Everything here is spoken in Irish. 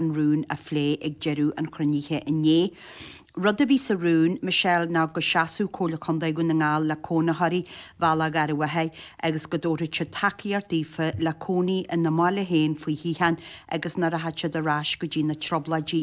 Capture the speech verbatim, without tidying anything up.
an rún a phlé ag deireadh an chruinnithe inné. Rud a bhí sa rún, Michelle ná go seasfadh Comhairle Contae Dhún na nGall le cónaitheoirí Bhealach Gharbhachaidh agus go dtabharfadh siad tacaíocht daofa le cónaí ina mbaile féin faoi shíocháin agus nach rachadh siad ar ais go dtí na trioblóidí